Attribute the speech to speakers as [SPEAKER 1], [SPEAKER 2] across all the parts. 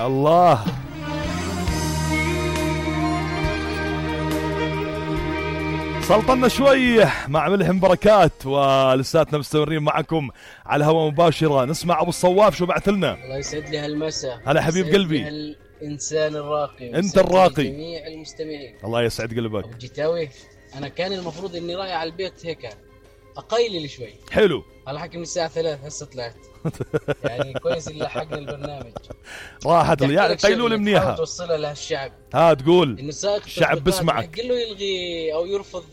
[SPEAKER 1] الله. سلطنا شوي مع ملهم بركات، ولساتنا مستمرين معكم على الهواء مباشرة. نسمع أبو الصواف شو بعث لنا.
[SPEAKER 2] الله يسعد لي هالمساء.
[SPEAKER 1] هلا حبيب قلبي.
[SPEAKER 2] الإنسان الراقي.
[SPEAKER 1] أنت الراقي.
[SPEAKER 2] جميع المستمعين.
[SPEAKER 1] الله يسعد قلبك.
[SPEAKER 2] أبو جتاوي، أنا كان المفروض إني رايح على البيت هيك أقيلل شوي.
[SPEAKER 1] حلو.
[SPEAKER 2] على حكي من الساعة 3 هسه طلعت. يعني كويس اللي لحقنا البرنامج.
[SPEAKER 1] راحت يعني قيلول منيحة.
[SPEAKER 2] توصلها لهالشعب.
[SPEAKER 1] تقول.
[SPEAKER 2] إنه سائق
[SPEAKER 1] الشعب بسمعك.
[SPEAKER 2] قل له يلغي أو يرفض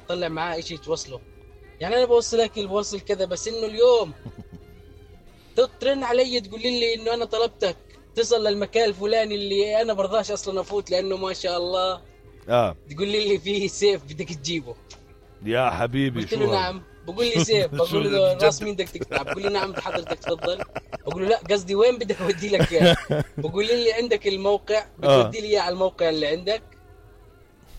[SPEAKER 2] تطلع معاه إشي توصله. يعني أنا بوصلك بوصل كذا، بس إنه اليوم ترن علي تقول لي إنه أنا طلبتك تصل للمكان الفلاني اللي أنا برضاش أصلا أفوت لأنه ما شاء الله. تقول لي فيه سيف بدك تجيبه.
[SPEAKER 1] يا حبيبي.
[SPEAKER 2] قلت له نعم. بقول لي سيف. بقول له راس مين بدك تقطع؟ بقول لي نعم حضرتك تفضل. بقول له لا قصدي وين بدك اودي لك اياه؟ بقول لي عندك الموقع بتودي لي اياه على الموقع اللي عندك،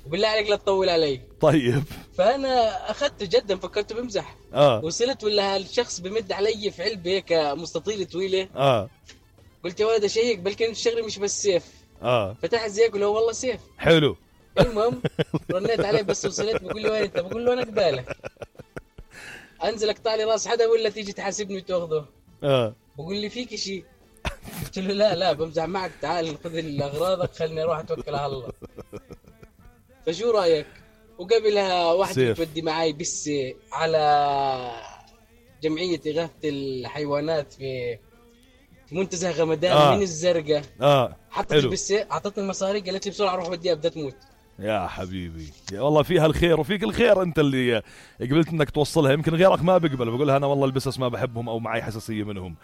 [SPEAKER 2] وبالله عليك لا تطول علي.
[SPEAKER 1] طيب.
[SPEAKER 2] فانا اخذته جدا، فكرته بمزح. وصلت ولا هالشخص بمد علي في علبه هيك مستطيله طويله. قلت يا ولد اشيك بلكن الشغله مش بس سيف. فتحت زي قال له والله سيف.
[SPEAKER 1] حلو.
[SPEAKER 2] المهم رنيت عليه بس وصلت. بقول له وين انت؟ بقول له انا قبالك. انزل اقطع لي راس حدا ولا تيجي تحاسبني وتاخذه؟ بقول لي فيك شيء؟ قلت له لا بمزح معك، تعال خذ اغراضك خليني اروح اتوكل على الله. فشو رايك؟ وقبلها واحدة تودي معي بس على جمعية إغاثة الحيوانات في منتزه غمدان من الزرقاء. حطت بس اعطتني المصاري، قالت لي بسرعة روح وديها بدها تموت.
[SPEAKER 1] يا حبيبي يا والله فيها الخير وفيك الخير، انت اللي قبلت انك توصلها. يمكن غيرك ما بيقبل، بقولها انا والله البسس ما بحبهم او معي حساسيه منهم.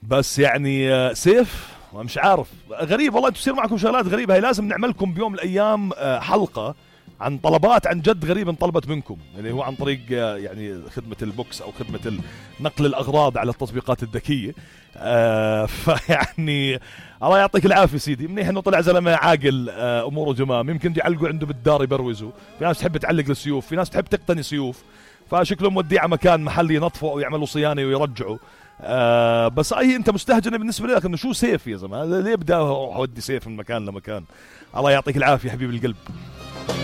[SPEAKER 1] بس يعني سيف مش عارف، غريب والله تصير معكم شغلات غريبه. هي لازم نعملكم بيوم من الايام حلقه عن طلبات عن جد غريبه انطلبت منكم، اللي هو عن طريق يعني خدمه البوكس او خدمه نقل الاغراض على التطبيقات الذكيه. فيعني الله يعطيك العافيه سيدي. منيح انه طلع زلمه عاقل، اموره جمام. يمكن يعلقوا عنده بالدار يبروزوا. في ناس تحب تعلق السيوف، في ناس تحب تقتني سيوف، فشكله موديه على مكان محلي ينظفوا او يعملوا صيانه ويرجعوا. بس اي انت مستهجن بالنسبه لك انه شو سيف يا زلمه؟ ليه بدي اودي سيف من مكان لمكان؟ الله يعطيك العافيه حبيب القلب.